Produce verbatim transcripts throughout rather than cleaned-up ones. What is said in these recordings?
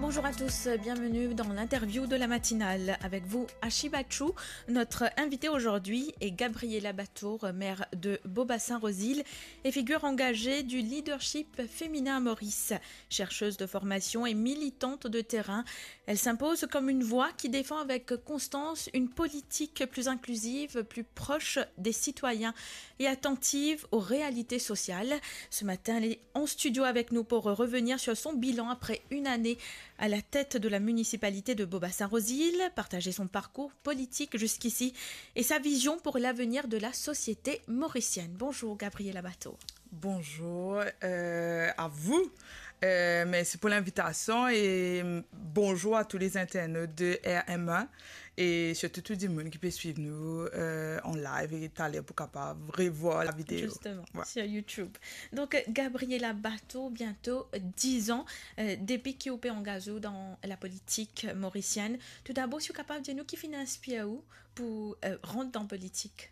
Bonjour à tous, bienvenue dans l'interview de la matinale. Avec vous, Ashi Bachou. Notre invitée aujourd'hui est Gabriela Batour, maire de Beaubassin-Rosilhes et figure engagée du leadership féminin à Maurice. Chercheuse de formation et militante de terrain, elle s'impose comme une voix qui défend avec constance une politique plus inclusive, plus proche des citoyens et attentive aux réalités sociales. Ce matin, elle est en studio avec nous pour revenir sur son bilan après une année à la tête de la municipalité de Beaubassin-Rosilhes, partager son parcours politique jusqu'ici et sa vision pour l'avenir de la société mauricienne. Bonjour Gabriela Batour. Bonjour, euh, à vous. Euh, merci pour l'invitation et bonjour à tous les internautes de R M un et surtout tout le monde qui peut suivre nous, euh, en live et talè pou kapav revoir la vidéo. Justement, ouais, sur YouTube. Donc, euh, Gabriela Batour, bientôt dix ans, euh, depi ki ou pe angaz ou dan la politik morisienn. Toudabor, si ou kapav dir nou ki finn inspir ou pou, euh, rant dan politik?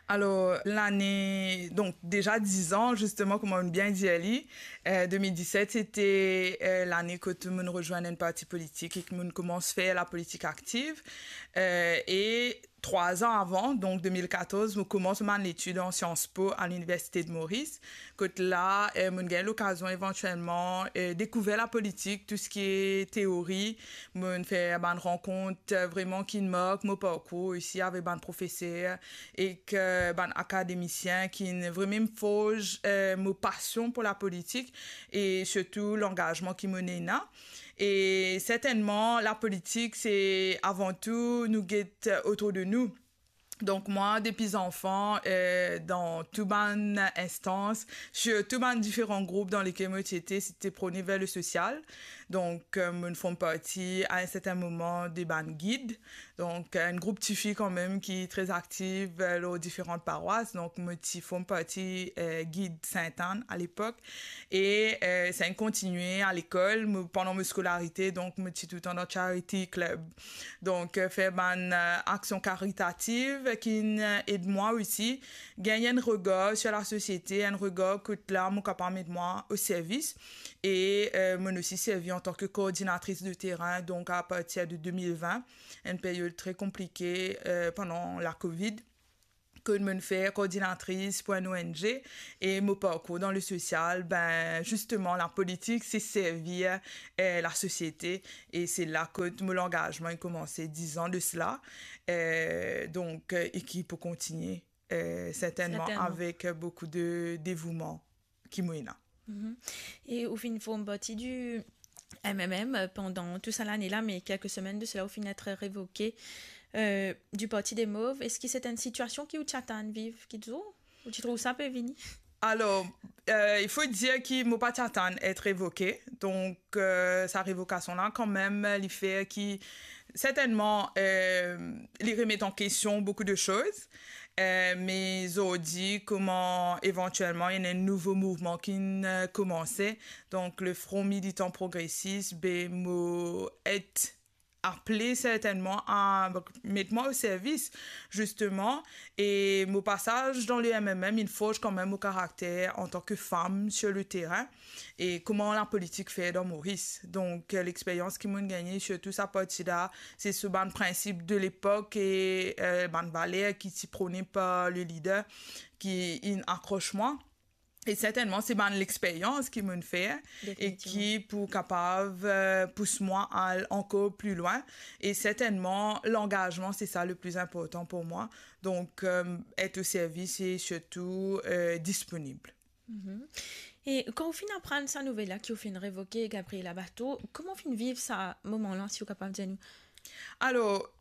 Alors, l'année, donc déjà dix ans, justement, kouma ou bien dir li, euh, deux mille dix-sept, c'était, euh, l'année kot mo'nn rezwenn enn parti politik e ki mo'nn koumans fer la politik aktiv. Euh, et trois ans avant, donc deux mille quatorze, mo'nn koumans mo bann letid an Sciences Po à l'Université de Maurice. Kot la, euh, mo'nn gagn lokazion éventuellement, euh, découvrir la politik, tout ce qui est théorie. Mo'nn fer bann rankont, euh, vremem ki'nn mark mo parkour osi avek bann profeser ek bann akademisien ki'nn vremem forz, euh, mo pasion pou la politik e sirtou langazman ki mo'nn ena. E sertennman, la politik, se avan tou nou get otour de nou. Donk, mwa, depi zanfan, euh, dan tou bann instans, sirtou bann diferan group dan lekel mo ti ete, se te prone ver le sosial. Donk, euh, mo'nn form parti a enn sertin moman de bann gid. Donk, enn group tifi kanmem ki tre aktiv, euh, lor diferan parwas. Donk, mo ti form parti, euh, gid Sint-Ann a lepok. E, euh, sa inn kontigne a lekol, mo, pandan mo skolarite, donk, mo ti toultan dan charity club. Donk, euh, fer bann, euh, aksion karitativ ki'nn, euh, ed mwa osi gagn enn regar sir lasosiete, enn regar kot la mo kapav met mwa o servis. E, euh, mo'nn osi servi antan ki koordinatris de terin, donk a partir de deux mille vingt, enn period tre konplike, euh, pandan la Covid, kot mo'nn fer koordinatris pou enn O N G, e mo parkour dan le sosial, ben, zisteman, la politik, se servi, euh, lasosiete, e se la kot mo langazman inn koumanse, dix ans de cela, euh, donk, euh, e ki pou kontigne, euh, sertennman, sertennman, avek, euh, boukou de devouman ki mo ena. Mhm. E ou finn form parti di M M M, euh, pandan tou sa lane la, me kelke semenn de sela, ou finn et revoke, euh, di Parti des Mauves. Eski se enn sitiasion ki ou ti atann viv, ki dir ou ti trouv sa pe vini? Alors, euh, il faut dire ki mo pa ti atann et revoke. Donk, euh, sa revokasion la, kanmem, li fer ki, sertennman, euh, li remet an kestion boukou de soz. Euh, me zordi, kouma evantielman ena enn nouvo mouvman ki'nn, euh, koumanse, donk le Front Militant Progressiste, ben, mo et aple sertennman a met mwa o servis, zisteman, e mo pasaz dan le M M M inn forz kanmem mo karakter antan ki fam sir le terin e kouma la politik fer dan Moris. Donk, euh, lexperyans ki mo'nn gagne, sirtou sa parti la, se sou bann prinsip de lepok e, euh, bann valer ki ti prone par le lider ki inn akros mwa. E sertennman, se bann lexperyans ki mo'nn fer e, definitivman, ki pou kapav, euh, pous mwa al ankor pli lwin. E sertennman, langazman, se sa le pli inportan pou mwa. Donk, euh, et o servis e sirtou, euh, disponib. Mhm. E kan ou finn aprann sa nouvel la ki ou finn revoke, Gabriela Batour, kouma ou finn viv sa moman la, si ou kapav dir nou? Alors,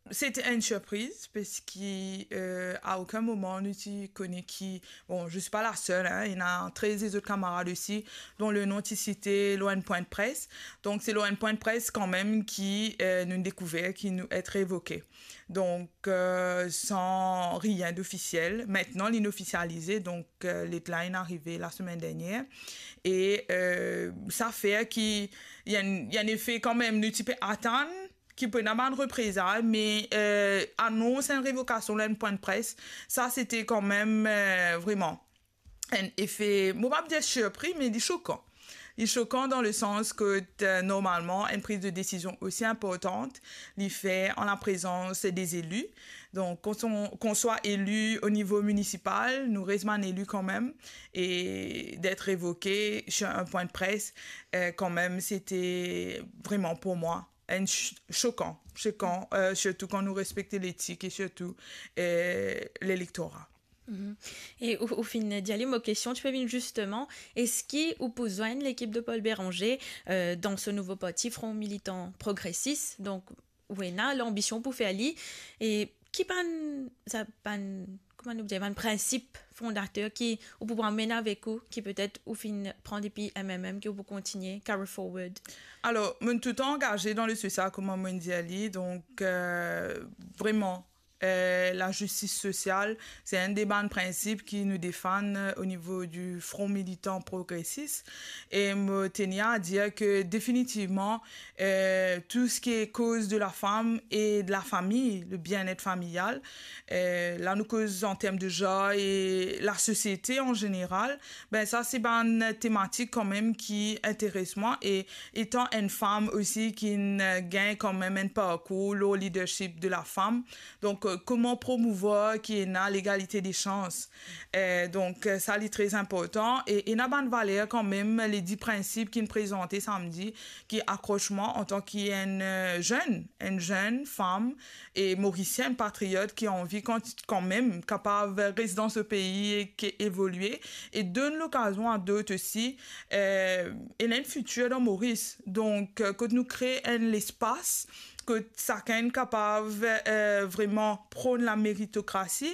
se te enn sirpriz, parski, euh, a okenn moman nou ti kone ki, bon, je suis pas la seule, hein, ena trez lezot kamarad osi, dont le nom ti site lor enn pwin de pres. Donk, se lor enn pwin de pres kanmem ki, euh, nou dekouver ki nou et revoke. Donk, euh, san rien d'ofisiel. Mintnan, li ofisialize, donk, euh, let la inn arive lasemenn dernier. E, euh, sa fer ki, ena, ena enn efe kanmem, nou ti pe atann ki pou ena bann reprezay, me, euh, anons enn revokasion lor enn pwin de pres, sa, se te kanmem, euh, vremem enn efe, mo pa pou dir sirpri, me li sokan. Li sokan dan le sans ke, euh, normalman, enn priz de desizion osi inportan, li fer an laprezans de zeli. Donk, kan on, kan on swa eli o nivo minisipal, nou res bann eli kanmem, e d'être révoqué sur un point de presse, euh, kanmem, sete vreman pou mwa enn ch-, sokan, sokan, euh, sirtou kan nou respekte letik e sirtou, euh, lelektora. Mhm. E ou, ou finn dir li mo kestion, ti pe vinn zisteman, eski ou pou zwenn lekip de Paul Bérenger, euh, dan so nouvo parti, Front Militant Progressiste? Donk, ou ena lanbision pou fer li, e ki bann, sa bann, kouma nou dir, bann prinsip fondater ki ou pou amenn avek ou, ki petet ou finn pran depi M M M, ki ou pou kontigne, carry forward? Alor, mo'nn toultan angaze dan le sosial, kouma mo'nn dir li, donk, euh, vreman, euh, lazistis sosial, se enn de bann prinsip ki nou defann, euh, o nivo di Front Militant Progressiste. E mo tenir a dir ke definitivman, euh, tou seki koz de la fam e de la fami, le bien-être familial, euh, la nou koz an term de zanr e lasosiete an zeneral, ben sa se bann tematik kanmem ki interes mwa, e etan enn fam osi ki'nn gagn kanmem enn parkour lor leadership de la fam, donk, euh, kouma promouvwar ki ena legalite de sans? Euh, donk, euh, sa li tre inportan. E ena bann valer kanmem, le dis prinsip ki'nn prezante samdi, ki akros mwa antan ki enn, euh, zenn, enn zenn fam e morisienn patriot ki anvi kan-, kanmem kapav res dan so pei e ke evolie e donn lokazion a dot osi, euh, ena enn fitir dan Moris. Donk, euh, kot nou kre enn lespas kot sakenn kapav, euh, vreman pronn lameritokrasi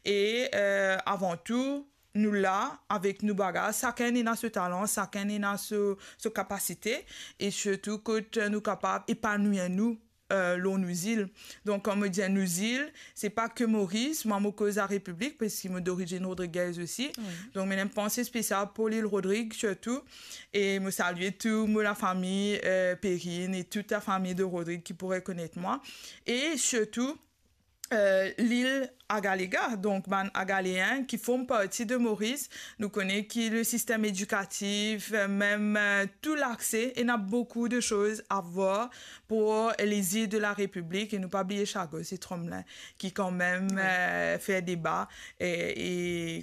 e, euh, avan tou, nou la avek nou bagaz, sakenn ena so talan, sakenn ena so, so kapasite, e sirtou kot nou kapav epanwir nou, euh, lor nou zil. Donk, kan mo dir nou zil, se pa ke Moris, mwa mo koz Larepiblik, paski mo dorizinn rodrigez osi. Wi. Donk, mo ena enn panse spesial pou Lil Rodrig, sirtou. E mo salie tou mo lafami, euh, Perrine e tou lafami de Rodrig ki pou rekonet mwa. E sirtou, euh, lil Agalega, donk bann Agaleen ki form parti de Moris. Nou kone ki le sistem edikatif, euh, mem, euh, tou lakse, ena boukou de soz a vwar pou lezil de Larepiblik. E nou pa bliye Chagos e Tromelin, ki kanmem, wi, euh, fer deba e, e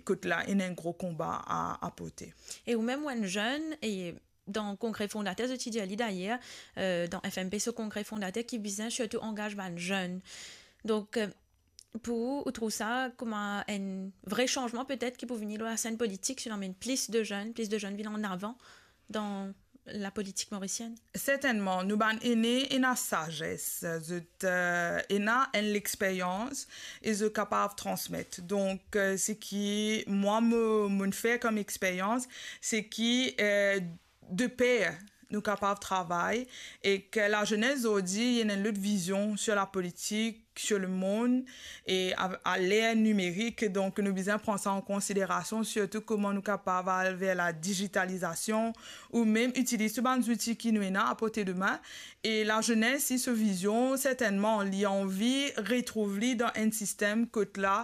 kot la, ena enn gro konba a, a porte. E ou mem, ou enn zenn, e dan kongre fondater, zot ti dir li dayer, euh, dan F M P, so kongre fondater ki bizin sirtou angaz bann zenn. Donk, euh, pou ou, ou trouv sa kouma enn vre sanzman petet ki pou vini lor lasenn politik, si nou amenn plis de zenn, plis de zenn vinn an avan dan lapolitik morisienn? Sertennman, nou bann ene ena sazes, zot, euh, ena enn lexperyans e zot kapav transmet. Donk, euh, seki mwa mo, mo'nn fer kom experyans, seki, euh, de per nou kapav travay, e ki lazenes zordi, ena enn lot vizion sir lapolitik, sir lemond, e a, a ler nimerik. Donk, nou bizin pran sa an konsiderasion, sirtou kouma nou kapav al ver ladizitalizasion, ou mem itiliz tou bann zouti ki nou ena a porte de min. E lazenes, si so vizion, sertennman, li anvi retrouv li dan enn sistem kot la,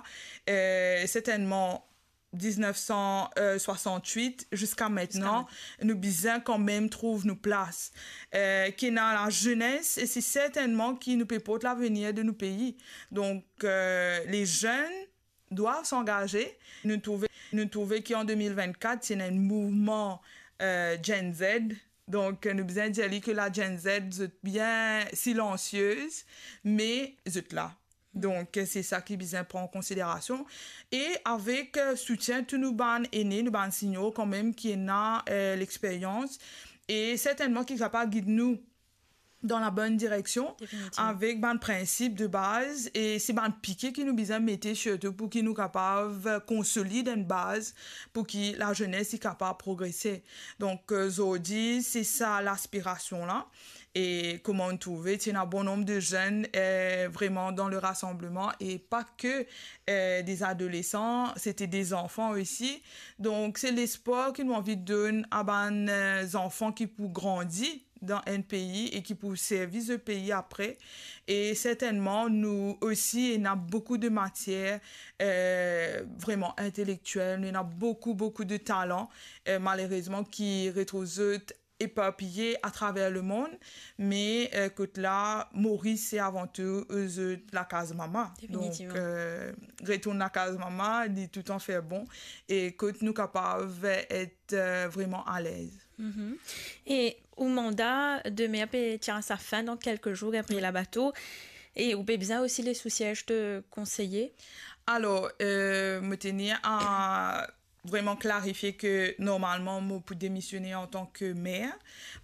eh, sertennman, diznef san swasant-wit ziska mintnan, ziska mintnan, nou bizin kanmem trouv nou plas. Eh, ki ena lazenes, e se sertennman ki nou pe port lavenir de nou pei. Donk, eh, les jeunes doivent s'engager. Nou trouve, nou trouve ki an de mil vennkat, ti ena enn mouvman, eh, Gen Z. Donk, nou bizin dir li ki la Gen Z, zot bien silansiez, me zot la. Donk, se sa ki bizin pran an konsiderasion. E avek, eh, soutien tou nou bann ene, nou bann senior kanmem ki ena, eh, lexperyans, e sertennman ki kapav gid nou dan labonn direksion, definitivman, avek bann prinsip de baz, e se bann pike ki nou bizin mete sirtou pou ki nou kapav konsolid enn baz pou ki lazenes li kapav progrese. Donk, eh, zordi, se sa laspirasion la. E kouma nou trouve, ti ena bon nonb de zenn, eh, vreman dan le rasanbleman, e pa ke, eh, de adolesan, sete de zanfan osi. Donk, se lespwar ki nou anvi donn a bann, eh, zanfan ki pou grandi dan enn pei e ki pou servi zot pei apre. E sertennman, nou osi, ena boukou de matier, eh, vreman intelektiel, nou ena boukou, boukou de talan, eh, malerezman, ki retrouv zot eparpiye atraver lemond, me, eh, kot la, Moris, se avan tou, eh, zot lakaz mama. Definitivman. Donk, eh, retourn lakaz mama, li toutan fer bon, e kot nou kapav et, eh, vreman alez. Mhm. E ou manda de mer pe tir a sa fin dan kelke zour apre labato, e ou pe bizin osi les sou siez de konseye? Alor, eh, mo tenir a vreman klarifie ke normalman mo pou demisione antan ke mer,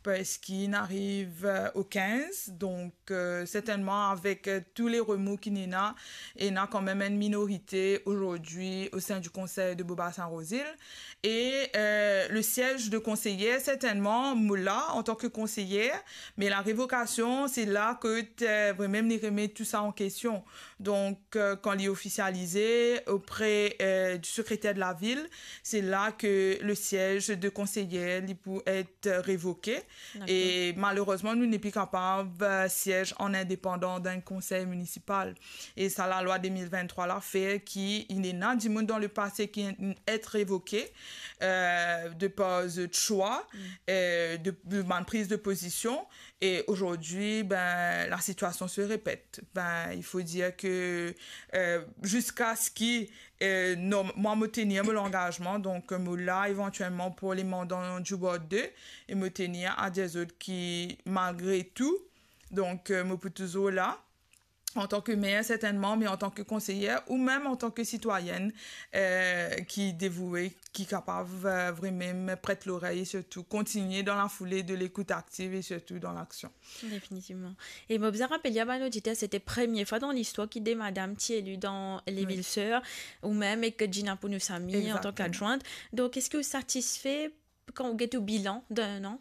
parski inn ariv, eh, o kinz, donk, eh, sertennman avek, eh, tou le remou ki ena, ena kanmem enn minorite azordi o sein du Conseil de Beaubassin-Rouzile. E, eh, le siez de konseyer, sertennman, mo la antan ke konseyer, me larevokasion, se la kot, eh, vremem li remet tou sa an kestion. Donk, eh, kan li ofisialize opre, eh, du sekreter de lavil, se la ke le siez de konseyer, li pou et revoke. Dakor. E malerezman, nou nepli kapav, eh, siez an indepandan dan enn konsey minisipal. E sa lalwa de mil venntrwa la fer ki inn ena dimoun dan lepase ki inn et revoke, eh, de par zot swa, eh, de, de bann priz de pozision. E azordi, ben, lasitiasion se repet. Ben, il faut dire que, eh, ziska ski, eh, non, mwa mo tenir mo langazman, donk mo la evantielman pou le manda Djoubard de, e mo tenir a dir zot ki malgre tou, donk, eh, mo pou touzour la, antan ke mer, sertennman, me antan ke konseyer, ou mem antan ke sitwayenn, eh, ki devoue, ki kapav, eh, vremem pret lorey, e sirtou kontigne dan lafoule de lekout aktiv e sirtou dan laksion. Definitivman. E mo bizin rapel a bann oditer, sete premie fwa dan listwar ki de madam ti eli dan le Wi. Vil Sir, ou mem ek Gina Pounoussamy antan Exactement. Ki adjwint. Donk, eski ou satisfe kan ou get ou bilan de enn an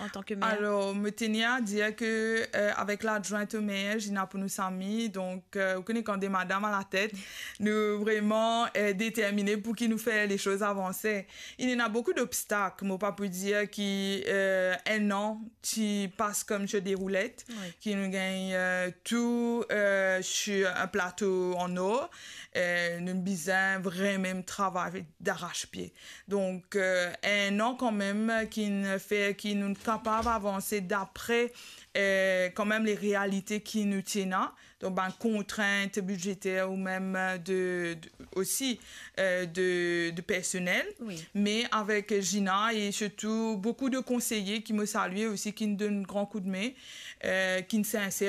antan ke mer? Alor, mo tenir a dir ke, eh, avek ladjwint o mer, Gina Pounoussamy, donk, eh, ou kone kan de madam alatet, nou vreman, eh, determine pou ki nou fer lesoz avanse. Inn ena boukou d'obstak, mo pa pou dir ki, eh, enn an ti pas kom sur des roulettes, Wi. Ki nou gagn, eh, tou, eh, sur enn plato an or, eh, nou bizin vremem travay d'arrache-pied. Donk, eh, enn an kanmem ki'nn fer ki nou kapav avanse dapre, eh, kanmem le realite ki nou ti ena, donk bann kontrint bidzeter ou mem de, de, osi, eh, de, de personel. Wi. Me avek Gina e sirtou boukou de konseye ki mo salie osi, ki'nn donn gran koudme, eh, ki'nn sinser